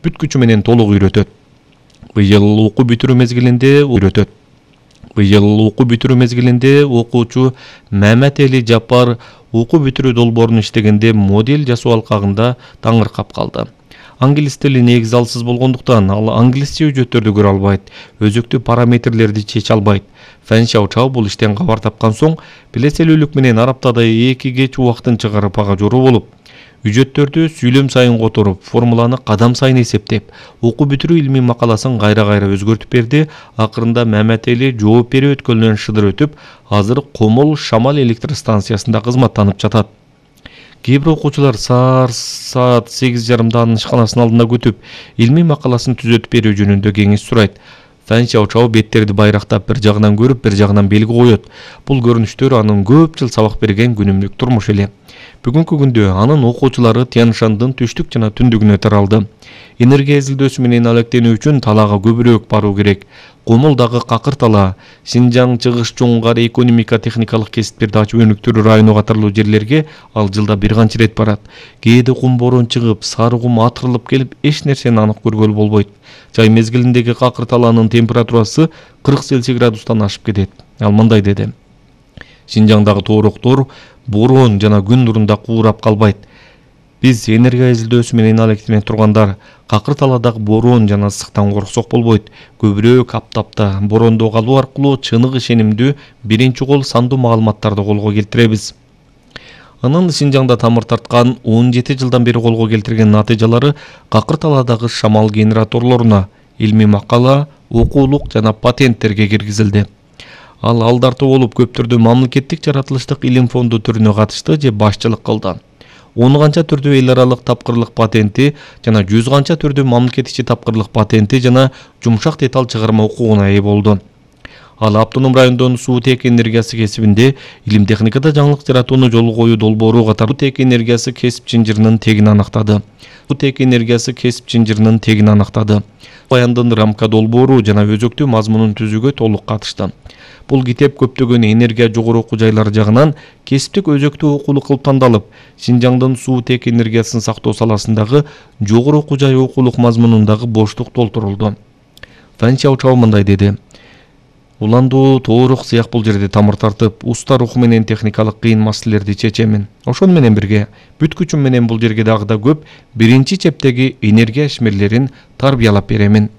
бүт күчү менен толук үйрөтөт. Быйыл окуу бүтүрүү мезгилинде окуучу Мамат Эли Жапар окуу бүтүрүү долбоорун иштегенде модель жасоо алкагында таңыркап калды. Англис тили негизи алсыз болгондуктан ал англисче үжөттөрдү көрө албайт, өзөктүү параметрлерди чече албайт. Фэн Шаочао бул иштен кабар тапкан соң билеселүүлүк менен ар аптада 2 кеч убактын чыгарып ага жору болуп, үжөттөрдү сүйлөм сайын которуп, формуланы кадам сайын эсептеп, окуу бүтүрүү илмий макаласын кайра-кайра өзгөртүп берди. Акырында Мамат Эли жооп берүү өткөлүнөн шыдыр өтүп, азыр Комол Шамал электр станциясында кызматтанып жатат. Кээ бир окуучулар саат 8:30 анын ишканасынын алдында күтүп, илмий макаласын түзөтүп берүү жөнүндө кеңеш сурайт. Фэн Шаочао беттерди байрактап бир жагынан көрүп, бир жагынан белги коет. Бул көрүнүштөр анын көп жыл сабак берген күнүмдүк турмушу эле. Бүгүнкү күндө анын окуучулары Тянь-Шандын түштүк жана түндүгүнө таралды. Энергия изилдөөсү менен алектенүү үчүн талаага көбүрөөк баруу керек. Комолдагы Какыр тала, Шинжаң, Чыгыш, Жоңгар экономика техникалык кесиптерди ачып өнүктүрүү району катарлуу жерлерге ал жылда бир канча рет барат. Кээде кум борон чыгып, сары кум атырылып келип, эч нерсени анык көргөлү болбойт. Жай мезгилиндеги Какыр талаанын температурасы 40 Цельсий градустан ашып кетет. Ал мындай деди: Шинжаңдагы тоороктор борон жана күн нурунда куурап калбайт. Биз энергия изилдөөсү менен алектене тургандар Какыр таладагы борон жана ысыктан корксок болбойт. Көбүрөөк аптапта борондо калуу аркылуу чыныгы ишенимдүү биринчи кол сандуу маалыматтарды колго келтиребиз. Анын Шинжаңда тамыр тарткан 17 жылдан бери колго келтирген натыйжалары Какыр таладагы шамал генераторлоруна илмий макала, окуулук жана патенттерге киргизилди. Ал алдартуу болуп көптөрдү мамлекеттик жаратылыштык илим фонду түрүнө катышты же башчылык кылды. 10 канча түрдүү эл аралык тапкырлык патенти жана 100 канча түрдүү мамлекет ичи тапкырлык патенти жана жумшак деталь чыгарма укугуна ээ болду. Ал автоном райондон суутек энергиясы кесибинде илим техникада жаңылык жаратууну жолго коюу долбоору катары суутек энергиясы кесип чынжырынын тегин аныктады. Баяндын рамка долбоору жана өзөктүү мазмунун түзүүгө толук катышты. Бул китеп көптөгөн энергия жогору окуу жайлары жагынан кесиптик өзөктүү окуулук кылып тандалып, Шинжаңдын суутек энергиясын сактоо саласындагы жогору окуу жай окуулук мазмунундагы боштук толтурулду. Фэн Шаочао мындай деди: Уландуу тоорок сыяк бул жерде тамыр тартып, уста руху менен техникалык кыйын маселелерди чечемин. Ошону менен бирге бүт күчүм менен бул жерге дагы да көп биринчи чептеги энергия ишмерлерин тарбиялап беремин.